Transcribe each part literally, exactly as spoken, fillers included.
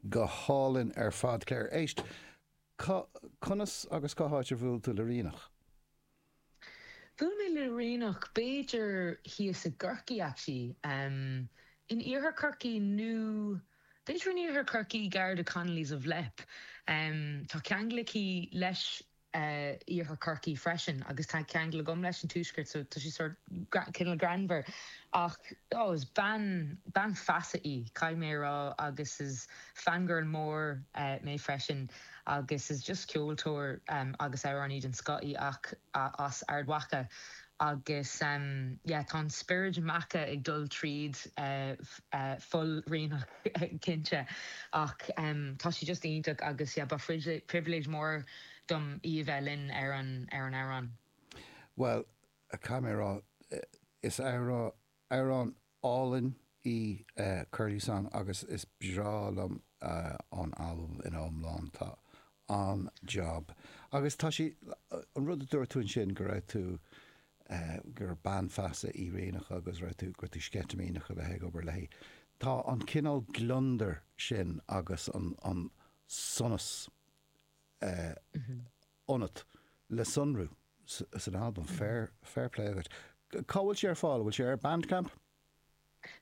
Go hálainn ar fad, Claire. Éist, conas agus cá háit ar bhuail tú le Ríonach? Bhuail mé le Ríonach b'fhéidir thíos i gCorcaigh actually, um, in iarthar Chorcaí nó b'fhéidir in iarthar Chorcaí gar do Connolly's of Leap. Um, tá ceangal aici leis uh, iarthar Chorcaí freisin agus tá ceangal agam leis an tuaisceart so tá sí sort cineál greannmhar ach oh, is bean bean feasa í caithfidh mé rá agus is fangirl mór uh, mé freisin agus is just ceoltóir um, agus amhránaí den scoth í ach uh, as Ard Mhacha agus um, yeah, tá an spiorad Macha ag dul tríd uh, uh, fuil Ríonach cinnte ach um, tá sí just iontach agus yeah, ba privilege mór dom í bheith linn ar an ar an amhrán. Well, a mé is amhrán álainn í uh, Curlew Song agus is breá liom uh, an albam in iomlán tá an-job. Agus tá sí an rud a dúirt tú ansin go raibh tú uh, gur bean feasa í Ríonach agus raibh tú gur tú sceitimíneach a bheith ag obair léi. Tá an cineál gliondar sin agus an, an sonas uh, mm -hmm. ionat le sonrú san album fair fair play agat. Cá bhfuil sé ar fáil, bhfuil sé ar Bandcamp?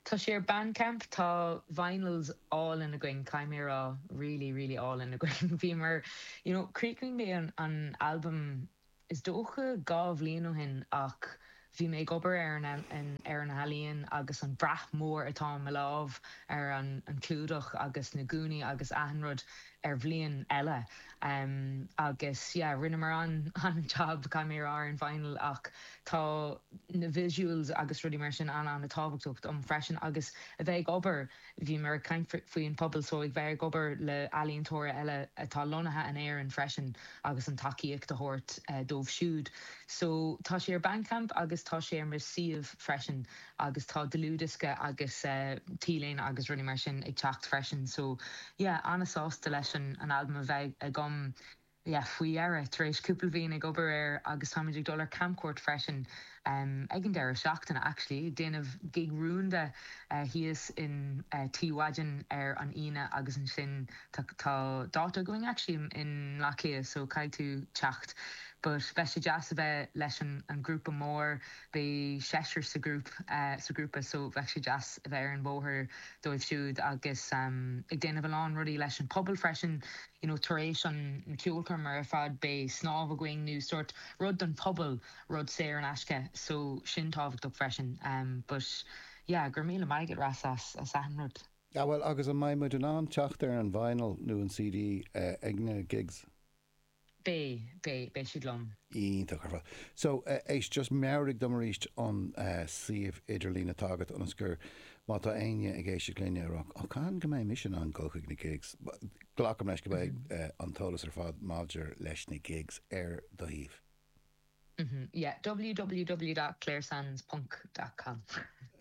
Tá sé ar Bandcamp tá vinyls álainn againn caithfidh mé rá really really álainn againn Bhí mar you know, chríochnaigh mé an, an album is dócha dhá bhliain ó shin ach bhí mé ag obair ar an, an, ar an ealaín agus an brath mór atá mo lámh ar an, an clúdach agus na gúnaí agus achan rud ar bhliain eile. Um, agus yeah, rinneamar an an job caithfidh mé ar an vinyl ach tá na visuals agus rudaí mar sin an an-tábhachtach dom freisin agus a bheith ag obair bhí mar caint faoin pobal so ag bheith ag obair le ealaíontóirí eile atá lonnaithe in Éirinn freisin agus an tacaíocht a thabhairt uh, dóibh siúd. So tá sé ar Bandcamp agus tá sé ar mo shuíomh freisin agus tá dlúthdhiosca agus uh, t-léine agus rudaí mar sin ag teacht freisin. So yeah, an-sásta leis an, an album a bheith agam yeah, faoi dheireadh tar éis cúpla bliain ag obair air agus táimid ag dul ar camchuairt freisin um, ag an deireadh seachtaine actually déanamh gig rúnda uh, thíos in uh, T-Wagon ar an Aoine agus ansin tá dáta going actually in Bleá Cliath so caithfidh tú teacht. But beidh sé deas a bheith leis an, an grúpa mór beidh seisear sa grúp uh, sa grúpa so bheidh sé deas a bheith ar an bóthar dóibh siúd agus um, ag déanamh a lán rudaí leis an pobal freisin you know, tar éis an ceolchoirm ar fad beidh snámh againn nó sort rud don pobal rud saor in aisce so sin tábhachtach freisin um, but yeah, gur míle maith ras as as achan rud. Ja well agus an mbeidh muid in ann teacht ar an vinyl nó an CD uh, ag na gigs. Beidh beidh beidh siad liom. Iontach ar fad. So uh, éist just meabhraigh dom arís an uh, suíomh idirlín atá agat ionas gur má tá éinne ag éisteacht linne rá ó can go mbeidh mise in ann dul chuig na gigs. Glacaim leis go mbeidh mm -hmm. uh, an t-eolas ar fad maidir leis na gigs ar do shuíomh. Mm -hmm. Yeah, www.clairesands.com.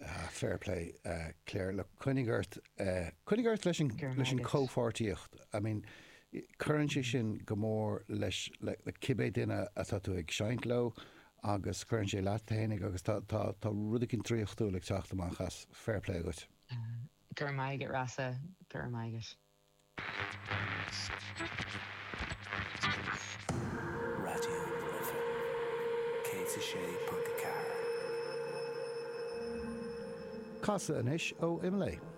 Uh, fair play uh, Claire le coinnigh ort uh, coinnigh ort leis an leis an comhpháirtíocht. I mean, cuireann sé sin go mór leis le, le cibé duine atá tú ag seinnt leo agus cuireann sé leat féinig agus tá tá tá rud éigin draíochtúil ag teacht amach as fair play agat. Gur maigad rasa gur maigad. Raidió na Life céad a sé ponc a ceathair. Casadh anois ó Imlé.